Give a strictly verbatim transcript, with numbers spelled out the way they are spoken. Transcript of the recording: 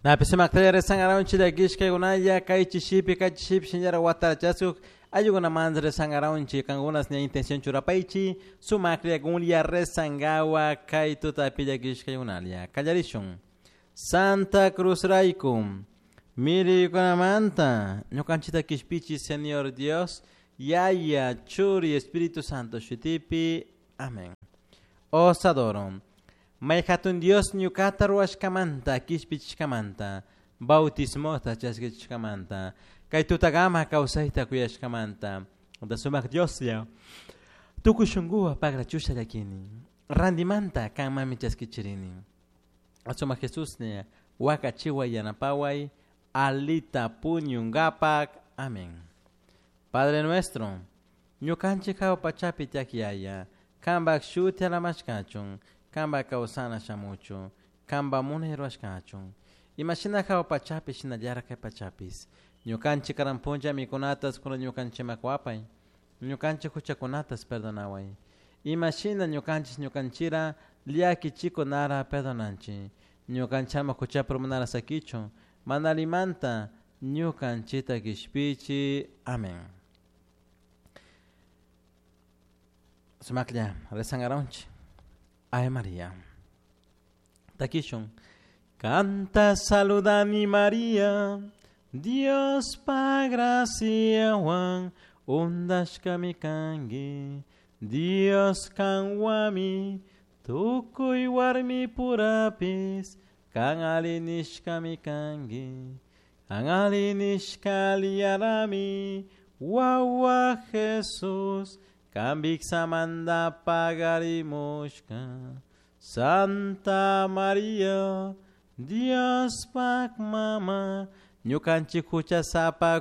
Napi sumakta rezangaranchik llakishkaykunalla kay chishipi kay chishipi shinallara watarachasuk ayukunamanta rezangaranchik kankunas ña intención churapaychi sumaklla kunlla rezangawa kay tutapi llakishkaykunalla kallarishun Santa Cruz rayku miriykunamanta ñukanchikta kishpichi Señor Dios Yaya Churi Espíritu Santo shutipi amén. Os adoro. May hatun Dios ñukata ruwashkamanta kishpichishkamanta bautismota chaskichishkamanta kay tutagama kawsayta kuyashkamanta da sumak Dioslla tukuy shunkuwan pagrachusha llakini randimanta kanmanmi chaskichirini sumak Jesuslla wakachiway yanapaway alita puñunkapak amén. Padre nuestro ñukanchik hawa pachapi tiyak yaya kanpak shuti alamashkachun kanpak kawsana shamuchun kanpak munay rurashkachun imashina hawa pachapi shinallara kay pachapis ñukanchik karan punlla mikunatas kunan ñukanchikman kuwapay ñukanchik huchakunatas perdonaway imashina ñukanchik ñukanchira llakichikunara perdonanchik ñukanchik ama huchapi urmanara sakichun mana allimanta ñukanchikta kishpichi amén. Sumaklla rezangaranchik Ave María. Takishun. Canta saludani María, Dios pa graciawan undashkami kanki, Dios kanwami, tukuy warmi purapis, kan alli nishkami kanki, kan alli nishka aliyarami, wawa Jesús, kan viksamanta pagarimushka. Santa María, Diospak mama, ñukanchik huchasapa